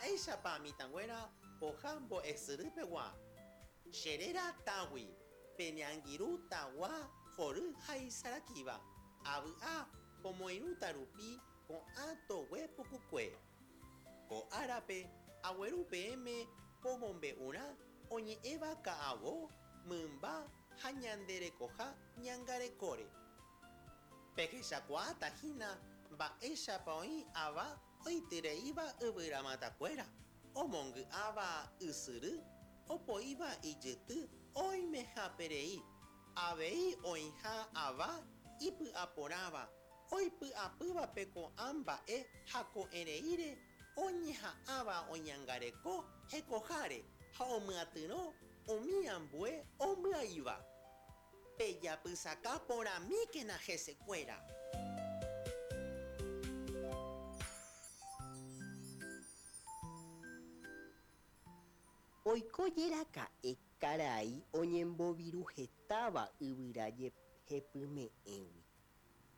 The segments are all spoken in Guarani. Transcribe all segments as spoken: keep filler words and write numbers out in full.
Mba'éichapa mitãnguéra poha mbo'esyrypegua. Cheréra Tagui, pene angirũ tagua hory ha isarakíva. Avy'a pomoirũta rupi ko'ã togue pukukue. Ko árape agueru peẽme pomombe'urã oñe'ẽva ka'avo, mymba ha ñande rekoha ñangarekóre. Pehechakuaáta hína mba'éichapa oĩ ava oityreíva yvyramatakuéra, omongy'áva ysyry, opoíva ijyty oimeháperei, avei oĩha ava ipy'aporãva, oipy'apývape ko'ã mba'e ha ko'ẽreíre oñeha'ãva oñangareko hekoháre ha omyatyrõ umi ambue ombyaíva. Pejapysaka porãmíkena hesekuéra. Oikojeraka'e karai oñemboviruhetáva yvyra jehepyme'ẽgui.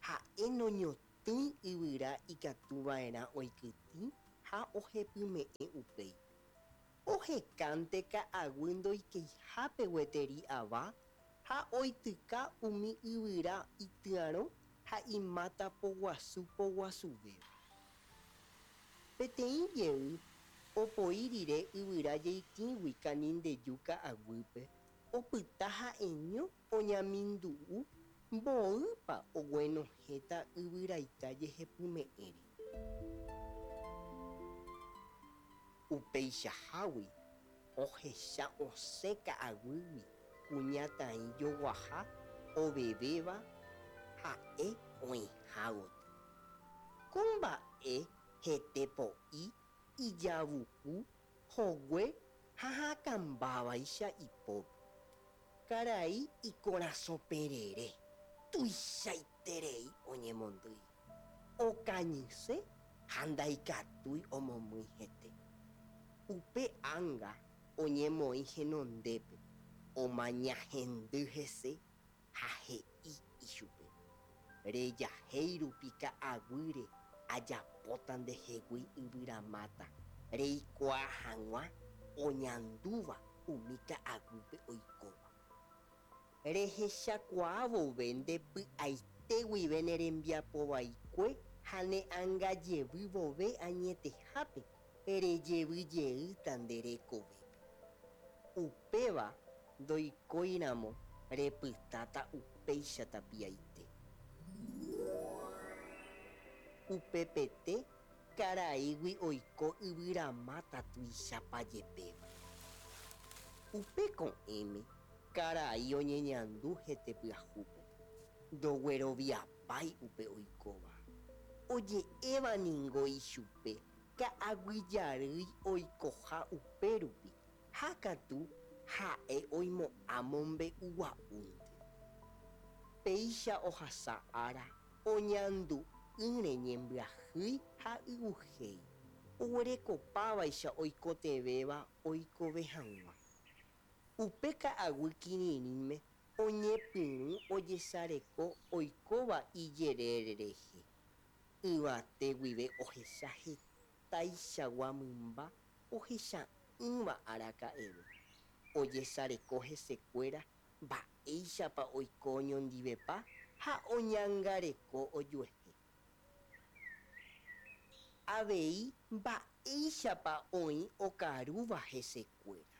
Ha'e noñotỹi yvyra ikatuva'erã oikytĩ ha ohepyme'ẽ upéi. Ohekánte ka'aguy ndoikeihápe gueteri ava ha oityka umi yvyra ityarõ ha imáta poguasu poguasuvéva. Peteĩ jey opoi rire yvyra jeitĩgui Kanindeju ka'aguýpe, opyta ha'eño oñamindu'u mboýpa oguenohẽta yvyraita jehepyme'ẽre. Upeichahágui ohecha osẽ ka'aguýgui kuñataĩ joguaha ovevéva ha'e oĩha gotyo. Ko mba'e hete po'i, ijavuku, hogue ha hakãmbávaicha ipópe. Karai ikorasõperere, tuichaiterei oñemondýi. Okañyse ha ndaikatúi omomýi hete. Upe ánga oñemoĩ henondépe, omañahendy hese ha he'i ichupe: Rejahéi rupi ka'aguýre ajapóta ndehegui yvyramáta reikuaa hag̃ua oñandúva umi ka'aguýpe oikóva. Rehechakuaa vove nde py'aite guive ne rembiapovaikue ha ne angajevy vove añetehápe rejevyjeýta nde rekovépe. Upéva ndoikóiramo repytáta upéicha tapiaite. Upepete karaígui oiko yvyramáta tuichapajepéva. Upe ko'ẽme karai oñeñandu hete pyahúpe, ndogueroviapái upe oikóva. Oje'évaningo ichupe ka'aguyjarýi oikoha upérupi ha katu ha'e oimo'ã mombe'ugua'únte. Péicha ohasa ára oñandu'ỹre ñembyahýi ha y'uhéi, oguerekopávaicha oikotevẽva oikove hag̃ua. Upe ka'aguy kirirĩme oñepyrũ ojesareko oikóva ijerére rehe. Yvate guive ohecha hetaichagua mymba ohecha'ỹva araka'eve. Ojesareko hesekuéra mba'éichapa oiko oñondivepa ha oñangareko ojuehe. Avei mba'éichapa oĩ okarúva hesekuéra.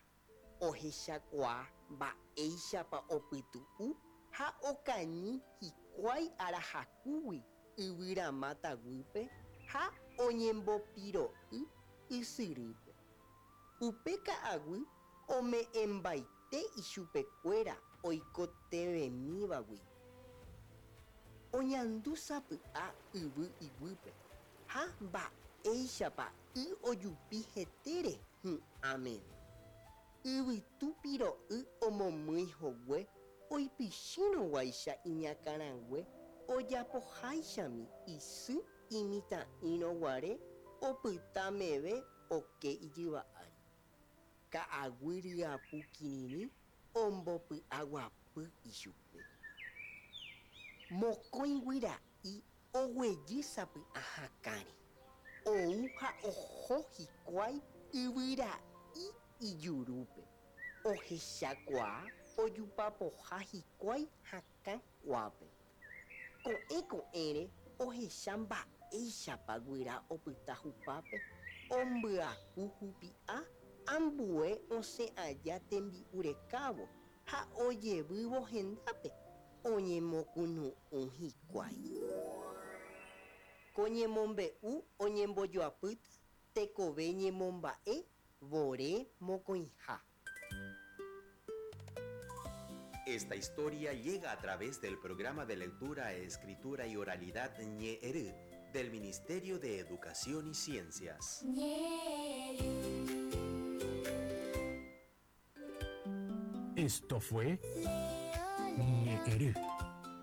Ohechakuaa mba'éichapa opytu'u ha okañy hikuái arahakúgui yvyramáta guýpe ha oñembopiro'y ysyrýpe. Upe ka'aguy ome'ẽmbaite ichupekuéra oikotevẽmíva guive. Oñandu sapy'a yvy iguýpe ha mba'éichapa y ojupi hetére hu'ã meve. Yvytu piro'y omomýi hogue oipychýrõguáicha iñakãrague ojapoháichami isy imitã'írõguare opyta meve oke ijyva ári. Ka'aguy ryapu kirirĩ ombopy'aguapy ichupe. Mokõi guyra'i oguejy sapy'a hakãre. Ou ha oho hikuái Yvyra'i ijurúpe. Ohechakuaa ojupapoha hikuái hakã kuápe. Ko'ẽ ko'ẽre ohecha mba'éichapa guyra opyta hupápe ombyaku hupi'a ambue osẽ aja tembi'u rekávo ha ojevývo hendápe oñemokunu'ũ hikuái. Ko ñemombe'u oñembojoapýta tekove ñemomba'e vore mokõiha. Esta historia llega a través del programa de lectura, escritura y oralidad Ñe'ẽry del Ministerio de Educación y Ciencias. Esto fue Ñe'ẽry,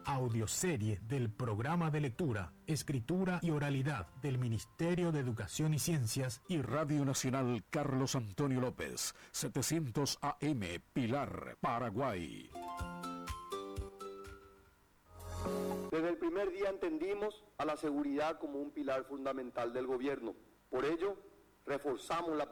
audioserie del programa de lectura, escritura y oralidad del Ministerio de Educación y Ciencias y Radio Nacional Carlos Antonio López, setecientos A M, Pilar, Paraguay. Desde el primer día entendimos a la seguridad como un pilar fundamental del gobierno. Por ello, reforzamos la